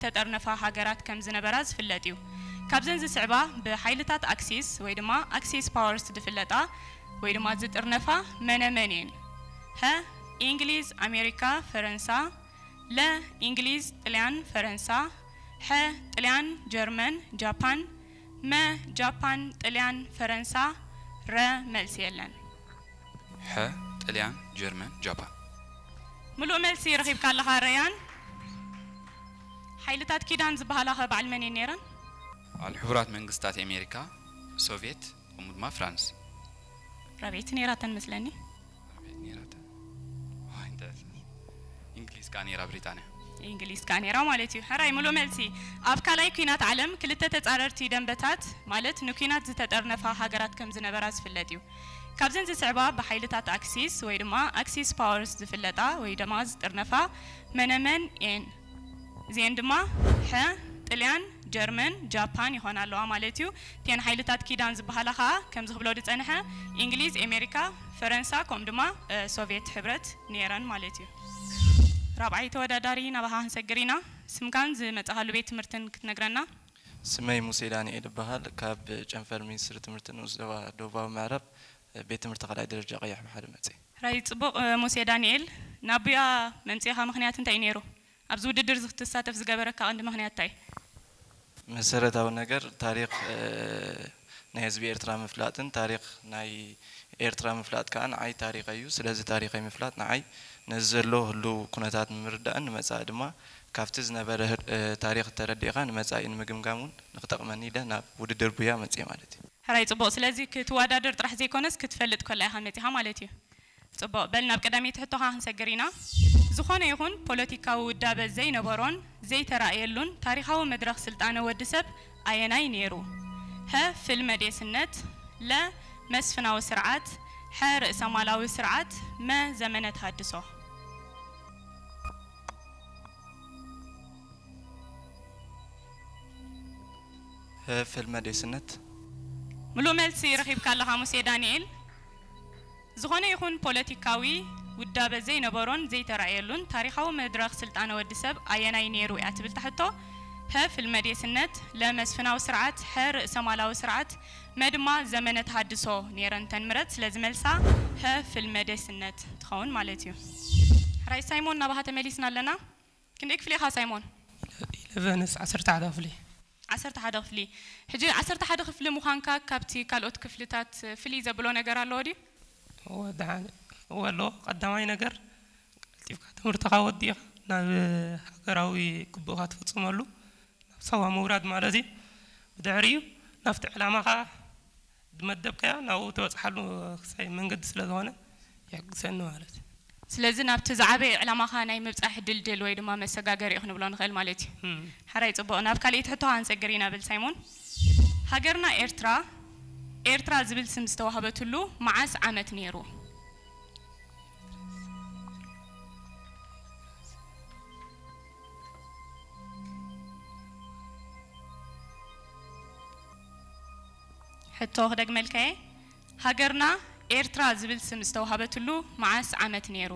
ዝተጠርነፋ ሃገራት ከም ዝነበራ ዝፍለጥ እዩ። ካብዘን ዝስዕባ ብሓይልታት ኣክሲስ ወይ ድማ ኣክሲስ ፓወርስ ዝፍለጣ ወይ ድማ ዝጥርነፋ መነ መን እየን? ሀ፣ እንግሊዝ፣ ኣሜሪካ፣ ፈረንሳ። ለ፣ እንግሊዝ፣ ጥልያን፣ ፈረንሳ። ሐ፣ ጥልያን፣ ጀርመን፣ ጃፓን። መ፣ ጃፓን፣ ጥልያን፣ ፈረንሳ። ረ፣ መልሲ የለን። ሐ፣ ጥልያን፣ ጀርመን፣ ጃፓን። ምሉእ መልሲ ረኺብካ ኣለኻ ረያን። ሓይልታት ኪዳን ዝበሃላ ኸ በዓል መን እየን ነይረን? በዓል ሕቡራት መንግስታት ኣሜሪካ፣ ሶቪየት፣ ከምኡ ድማ ፍራንስ። ራብዐይቲ ነይራተን መስለኒ። ራብዐይቲ ነይራተን። ዋይ፣ እንታይ፣ እንግሊዝ ከኣ ነይራ፣ ብሪጣንያ። እንግሊዝ ከኣ ነይራ ማለት እዩ። ሕራይ፣ ምሉእ መልሲ። ኣብ ካልኣይ ኲናት ዓለም ክልተ ተጻረርቲ ደንበታት፣ ማለት ንኲናት ዝተጠርነፋ ሃገራት ከም ዝነበራ ዝፍለጥ እዩ። ካብዘን ዝስዕባ ብሓይልታት ኣክሲስ ወይ ድማ ኣክሲስ ፓወርስ ዝፍለጣ ወይ ድማ ዝጥርነፋ መነመን እየን? እዚአን ድማ ሐ፣ ጥልያን፣ ጀርመን፣ ጃፓን ይኾና ኣለዋ ማለት እዩ። እተን ሓይልታት ኪዳን ዝበሃላ ኸዓ ከምዚ ክብሎ ዝጸንሐ እንግሊዝ፣ ኣሜሪካ፣ ፈረንሳ ከምኡ ድማ እ፣ ሶቪየት ሕብረት ነይረን ማለት እዩ። ራብዓይ ተወዳዳሪ ናባኻ ክንሰግር ኢና። ስምካን ዝመጻኻሉ ቤት ትምህርትን ክትነግረና? ስመይ ሙሴ ዳንኤል እበሃል። ካብ ጨንፈር ሚኒስትሪ ትምህርቲ ንኡስ ዞባ ደቡባዊ ምዕራብ ቤት ትምህርቲ ካልኣይ ደረጃ ቀይሕ ባሕሪ መፅእ። ሕራይ ጽቡቕ። እ፣ ሙሴ ዳንኤል፣ ናቡያ መምጽኢኻ ምኽንያት እንታይ እዩ ነይሩ? ኣብዚ ውድድር እዚ ክትሳተፍ ዝገበረካ ቀንዲ ምኽንያት እንታይ? መሰረታዊ ነገር ታሪኽ እ፣ ናይ ህዝቢ ኤርትራ ምፍላጥን ታሪኽ ናይ ኤርትራ ምፍላጥ ከዓ ንዓይ ታሪኸይ እዩ። ስለዚ ታሪኸይ ምፍላጥ ንዓይ ነዚ ዘሎ ህሉው ኩነታት ንምርዳእን ንመጻኢ ድማ ካብቲ ዝነበረ ህር- እ፣ ታሪኽ ተረዲእኻ ንመጻኢ ንምግምጋም እውን ንክጠቕመኒ ኢለ ናብ ውድድር ቡያ መጽየ ማለት እዩ። ሕራይ ጽቡቕ። ስለዚ ክትወዳደር ጥራሕ ዘይኮነስ ክትፈልጥ ከላ ኢኻ መጺኻ ማለት እዩ። ጽቡቕ። በል ናብ ቀዳመይቲ ሕቶኻ ክንሰግር ኢና። ዝኾነ ይኹን ፖለቲካዊ ውዳበ ዘይነበሮን ዘይተራእየሉን ታሪኻዊ መድረኽ ስልጣነ ወዲ ሰብ ኣየናይ ነይሩ? ሀ፣ ፍልመዴስነት። ለ፣ መስፍናዊ ስርዓት። ሐ፣ ርእሰ ማላዊ ስርዓት። መ፣ ዘመነ ተሃድሶ። ሀ፣ ፍልመዴስነት። ምሉእ መልሲ ረኺብካ ኣለኻ ሙሴ ዳንኤል። ዝኾነ ይኹን ፖለቲካዊ ውዳበ ዘይነበሮን ዘይተራእየሉን ታሪኻዊ መድረኽ ስልጣነ ወዲ ሰብ ኣየናይ ነይሩ እያ ትብል ትሕቶ። ሀ፣ ፍልመዴስነት። ለ፣ መስፍናዊ ስርዓት። ሐ፣ ርእሰ ማላዊ ስርዓት። መ ድማ ዘመነ ተሃድሶ ነይረን እተን ምረጽ። ስለዚ መልሳ ሀ፣ ፍልመዴስነት ትኸውን ማለት እዩ። ሕራይ ሳይሞን፣ ናባኻ ተመሊስና ኣለና። ክንደይ ክፍሊ ኢኻ ሳይሞን? ኢለቨንስ፣ ዓሰርተ ሓደ ክፍሊ። ዓሰርተ ሓደ ክፍሊ። ሕጂ ዓሰርተ ሓደ ክፍሊ ምዃንካ ካብቲ ካልኦት ክፍልታት ፍልይ ዘብሎ ነገር ኣለዎ ድዩ? እወ፣ ደሓን። እወ፣ ኣለዎ። ቀዳማይ ነገር፣ ቀልጢፍካ ትምህርትኻ ወዲእኻ ናብ ሃገራዊ ግቡእካ ትፍጽመሉ፣ ናብ ሳዋ ምውራድ ማለት እዩ። ብድሕሪኡ ናብቲ ዕላማኻ ዝመደብካዮ ናብኡ ትበጽሓሉ ክሳይ መንገዲ ስለ ዝኾነ ይሕግዘኒ ማለት እዩ። ስለዚ ናብቲ ዝዓበየ ዕላማኻ ናይ ምብጻሕ ድልድል ወይ ድማ መሰጋገሪ እዩ ክንብሎ ንኽእል ማለት እዩ። እም። ሕራይ ጽቡቕ። ናብ ካልኣይቲ ሕቶኻ ክንሰግር ኢና ብል ሳይሞን። ሃገርና ኤርትራ፣ ኤርትራ ዝብል ስም ዝተዋህበትሉ መዓስ ዓመት ነይሩ? ሕቶ ክደግመልካየ። ሃገርና ኤርትራ ዝብል ስም ዝተዋህበትሉ መዓስ ዓመት ነይሩ?